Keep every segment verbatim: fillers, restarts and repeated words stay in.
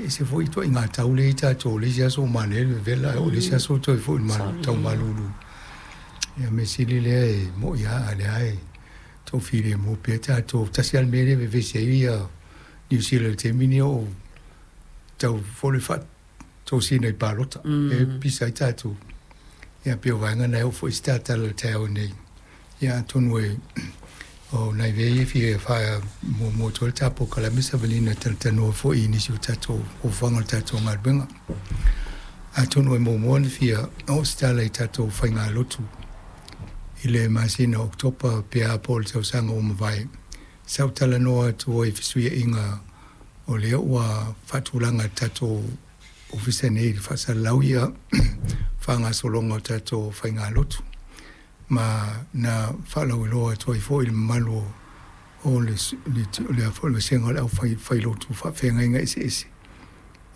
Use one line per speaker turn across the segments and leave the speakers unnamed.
Ese foi ituaiga tau lea i tatou, o le isi aso ua manaia le vevela ae oo i le isi aso ua toe foi i le tau malulu. Ia mea sili lea e mo'i lava a o lea e toafilemu pea tatou. Tasi lava le mea lea e vevesi ai Niu Sila i le taimi lenei o tau foi le faatosina i palota, lea e pisa ai tatou. Ia pei o vaega na e oo foi se tatala i le taeao nei. Ia atonu e o nai mea ia e fia faamuamua atu ai le ta polokalame Savalina e talatalanoa foi i nisi o tatou fuafuaga o le tatou galuega. Atonu e muamua ona fia oo se tala i tatou faigalotu i le masina o Oketopa pe a po o le tausaga ua mavae, sa ou talanoa atu ai i fesuiaiga o lea ua faatulaga e le tatou ofisa nei i le faasalalau ia faagasologa o tatou faigalotu ma na faalauiloa atu ai foi i le mamalu o le le vasega o le aufailotu faafeagaiga eseese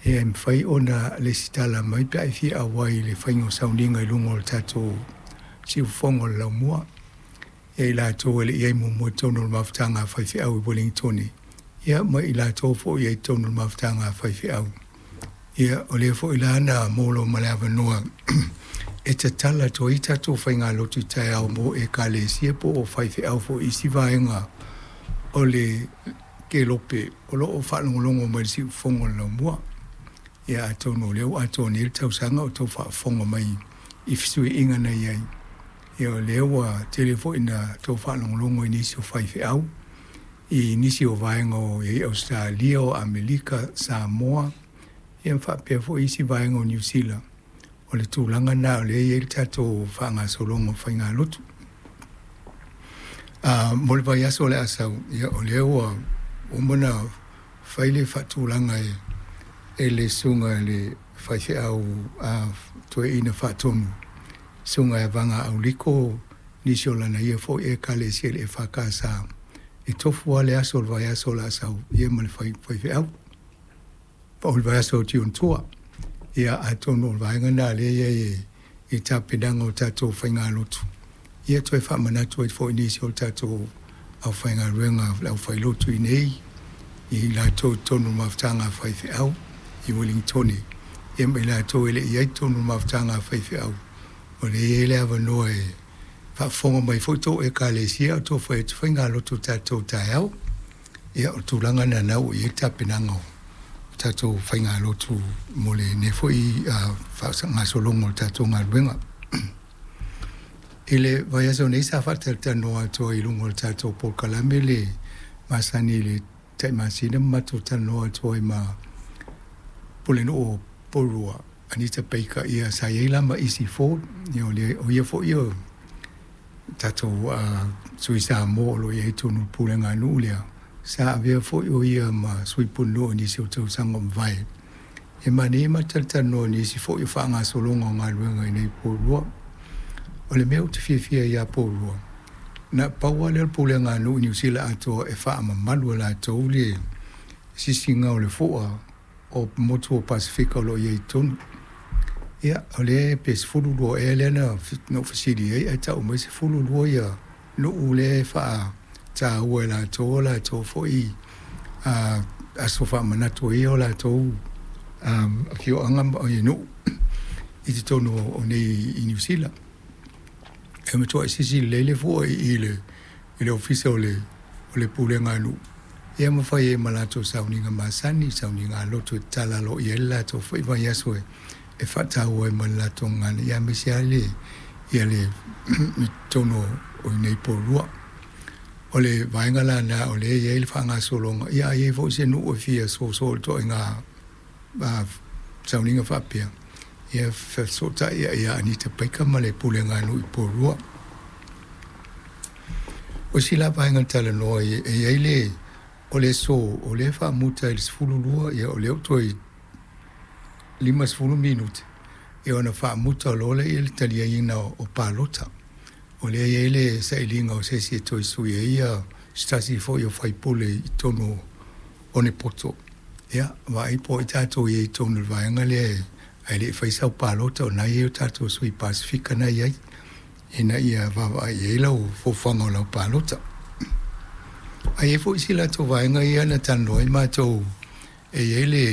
e mafai ona lesitala mai pe a e fia auai i le faiga o sauniga i luga o le tatou siufofoga o le laumua. E i latou e le i i ai muamua i totonu o le mafutaga a faifeau i Uelintone, ia ma i latou foi e i ai i totonu o le mafutaga a faifeau. Ia, o lea foi la na maua loa ma le avanoa e tatala atu ai tatou faigalotu i taeao mo ekalesia po o faifeau foi i isi vaega o le kelope o lo o faalogologo mai i le siufofoga o le laumua. Ia atonu o lea ua atoa nei le tausaga o outou faafofoga mai i fesuiaiga na i ai, ia o lea ua tele foi ina outou faalogologo i nisi o faifeau i nisi o vaega o i ai Ausetalia, o Amerika, Samoa, ia ma faapea foi isi vaega o Niu Sila. O le tulaga lena o lea e i ai le tatou faagasologa o faigalotu. Ah, mo le vaiaso o le a sau, ia o lea ua uma ona fai le faatulaga e e le susuga i le faifeau a toeaina faatonu, susuga ia Vaga Auliko, nisi o lana ia foi ekalesia i le E F K S e tofu lava le aso o le vaiaso o le a sau ia ma le faifeau, o le vaiaso o Tiontua. Ia atonu o le vaega lena o lea e i ai i tapenaga o tatou faigalotu, ia toe faamanatu ai foi i nisi o tatou aufaigaluega, le aufailotu i inei, i latou i totonu o le mafutaga a faifeau i Uelintone, ia ma i latou e le i i ai i totonu o le mafutaga a faifeau, o lea e i ai le avanoa e faafofoga mai foi tou ekalesia a o outou fai atu faigalotu i tatou taeao. Ia o le tulaga lena ua i ai le tapenaga o tatou faigalotu mo lenei foi faagasologa o le tatou galuega. I le vaiaso nei sa faatalatalanoa atu ai i luga o le tatou polokalame le masani i le tai masina ma matou talanoa atu ai ma Pulenuu o Porirua, Anita Baker, ia sa i ai la ma Isi Ford, ia o le o ia foi o tatou uh, sui Samoa o lo o i ai i totonu o le pulega a nuu lea, sa avea foi o ia ma sui pulenuu i nisi o tausaga ua mavae. E manaia ma talatalanoa i nisi foi o faagasologa o galuega i nei Porirua. O le mea ou te fiafia ai ia Porirua, na pau lava lea o le pulega a nuu i Niu Sila atoa e faamamalu e latou le sisiga o le fo'a o motu o Pasefika o lo o i ai i totonu. Ia, o lea pe sefulu lua ea lea na ou fesili ai ae tau mai sefulu lua ia nuu lea e faataua e latou o latou foi aso faamanatu ai o latou afioaga ma nuu i totonu o nei i Niu Sila. E matuai sisi lelei le fua i le i le ofisa o le o le pulega a nuu, ia ma fai ai ma latou sauniga masani, sauniga a lotu e tatala aloaia ai le latou foi vaiaso e faataua ai ma le latou gagana, ia aemaise lava le ia le i totonu o i nei Porirua. O le vaega la lena o lea e i ai le faagasologa, ia a i ai foi se nuu e fia soso i le ituaiga sauniga faapea, ia fesootai ia Anita Baker ma le pulega a nuu i Porirua. O isi la vaega na talanoa e i ai le o le aso o lea e faamuta i le sefulu lua, ia o lea ua toe limasefulu minute, ia ona faamuta loa lea i le taliaina o palota. O lea e i ai le sailiga o se isi e toe sui ai ia se tasi foi o faipule i totonu o Nepoto. Ia, vaai po o ai tatou i ai i totonu o le vaega lea ae le i fai sau palota, o lena e i ai o tatou sui Pasefika na e i ai, ina ia vaavaai i ai lau fuafuaga o lau palota. Ae i ai foi isi latou vaega ia na talanoa ai matou, e i ai le